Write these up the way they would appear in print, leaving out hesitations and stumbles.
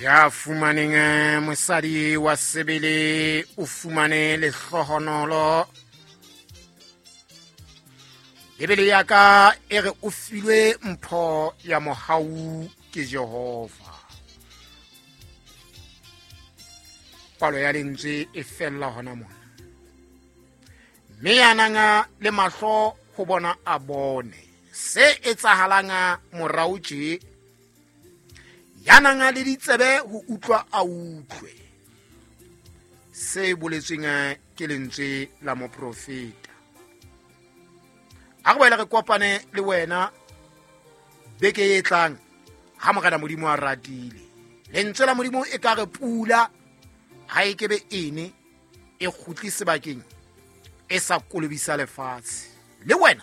Ya fumaneng mosadi wa sebele o fumane lehlohonolo. Bibele ya ka e re o filwe mpho ya mohau ke Jehova. Palo ya lentswe e fella hona mona. Mme ya nang le mahlo ho bona a bone se etsahalang morao tje, ya nang le ditsebe ho utlwa a utlwe se boletsweng ke lentswe la moprofeta. A re boele re kopane le wena beke e tlang ha Morena Modimo a ratile. Lentswe la Modimo e ka re pula ha e kebe ene e kgutli sebakeng e sa kolobisa lefatshe. Le wena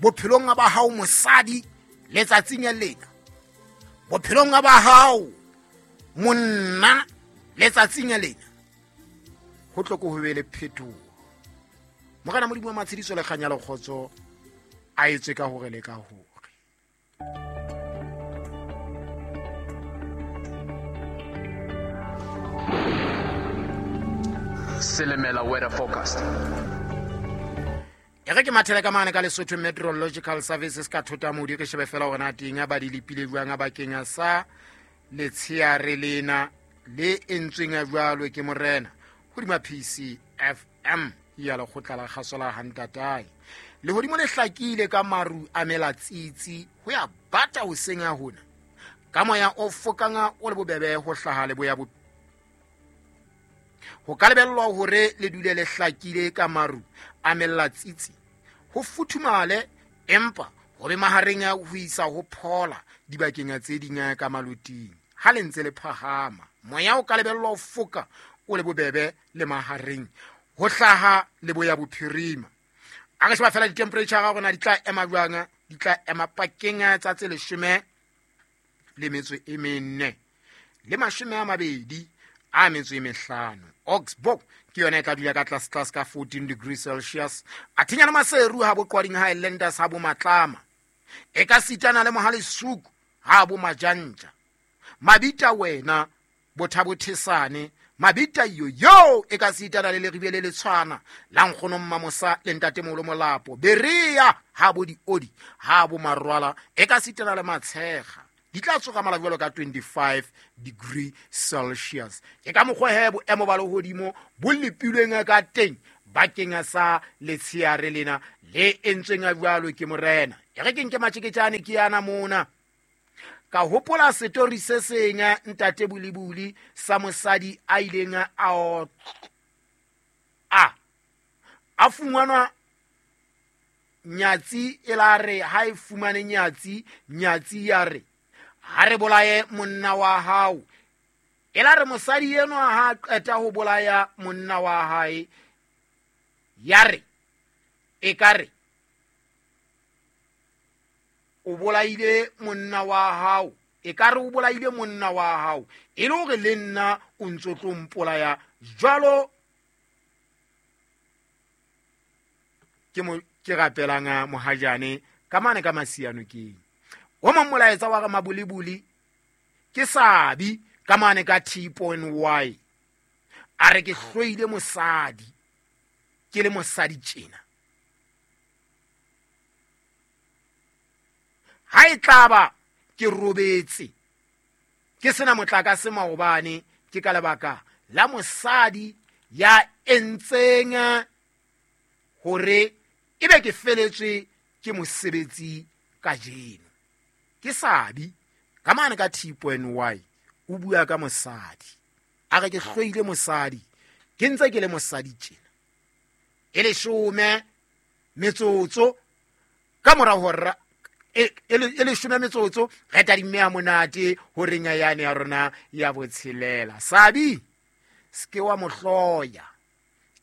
bophelong ba hao mosadi letsatsing lena, bophelong ba hao monna letsatsing lena, ho tlo ko ho be le phetoho. Morena Modimo wa matshediso le kganya le kgotso a etswe ka hore le ka hore. Silimela weather forecast. E re ke mathele ka mane ka Lesotho Meteorological Services ka thota modi, re shebe fela hore na teng ba di lepile jwang bakeng sa letsheare lena le entsweng jwalo ke morena hodima PCFM ya lekgotla la kgaso la Hantatae. Lehodimo le hlakile ka maru a melatsitsi ho ya bata hoseng ya hona, ka moya o fokang o le bobebe ho hlaha leboya bo. Ho ka lebellwa hore le dule le hlakile ka maru a melatsitsi, ho futhumale empa ho be mahareng a ho isa ho phola dibakeng tse ding ka maloting. Ha le ntse le phahama, moya o ka lebellwa ho foka o le bobebe le mahareng ho hlaha leboya bophirima. A re sheba fela di-temperature ga rona di tla ema jwang, di tla ema pakeng tsa tse 14 le 25. Augsburg ke yona e tla dula ka tlase tlase ka 14 degrees Celsius. A thinya le Maseru ha bo Qwading Highlanders ha bo Matlama. E ka sitana le Mohalesuku ha bo Majantja. Mabita wena bothabothesane mabita yo yo e ka sitana le leribe le letshwana la nkgono Mmamosa le ntatemoholo Molapo. Berea ha bo diodi ha bo Marwala e ka sitana le Matshega. Di tla tsoga mala jwalo ka 25 degree Celsius. Ke ka mokgwa he boemo ba lehodimo bo lepilweng ka teng bakeng sa letsheare lena le entsweng jwalo ke morena. E re ke nke matjeketjane ke yana mona. Ka hopola setori se seng ntate Bulibuli sa mosadi a ileng a fumanwa nyatsi e la re ha e fumane nyatsi, nyatsi ya re ha re bolaye monna wa hao. E la re mosadi enwa ha qeta ho bolaya monna wa hae, ya re e ka re o bolaile monna wa hao, e ka re o bolaile monna wa hao e le hore le nna o ntso tlo mpolaya jwalo. Ke mo ke rapelang mohajane ka mane ka masiano keng. O mong molaetsa wa re Mabulibuli ke sabi ka mane ka T point Y. A re ke hloile mosadi, ke le mosadi tjena. Ha e tlaba ke robetse ke sena motlakase maobane, ke ka lebaka la mosadi ya entseng hore ebe ke feletswe ke mosebetsi kajeno. Ke sabi ka mane ka T point Y o bua ka mosadi. A re ke hloile mosadi, ke ntse ke le mosadi tjena. E leshome metsotso ka mora hora e leshome metsotso re tadimme ha monate ho reng ya yane ya rona ya botshelela. Sabi se ke wa mo hloya,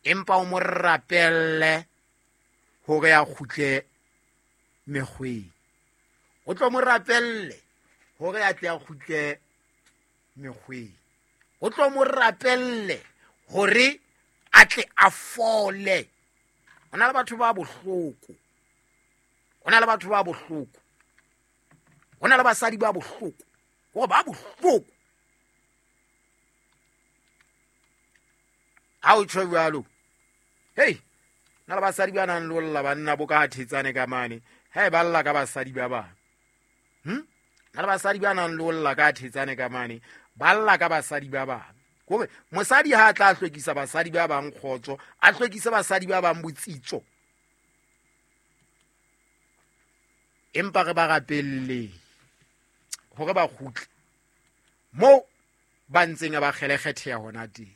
empa o mo rapelle hore a kgutle mekgweng. O tlo mo rapelle hore a tle a kgutle mekgweng. O tlo mo rapelle hore a tle a fole. Ho na le batho ba bohloko. Ho na le batho ba bohloko. Ho na le basadi ba bohloko. Hore ba bohloko. Ha o tjho jwalo, hei, na le basadi ba nang le ho lla banna bo ka thetsane ka mane, ha e ba lla ka basadi ba bang. Na le basadi ba nang le ho lla ka thetsane ka mane, ba lla ka basadi ba bang. Kore mosadi ha a tla hlwekisa basadi ba bang kgotso, a hlwekise basadi ba bang botsitso. Empa re ba rapelleng hore ba kgutle moo ba ntseng ba kgelekgetheha hona teng.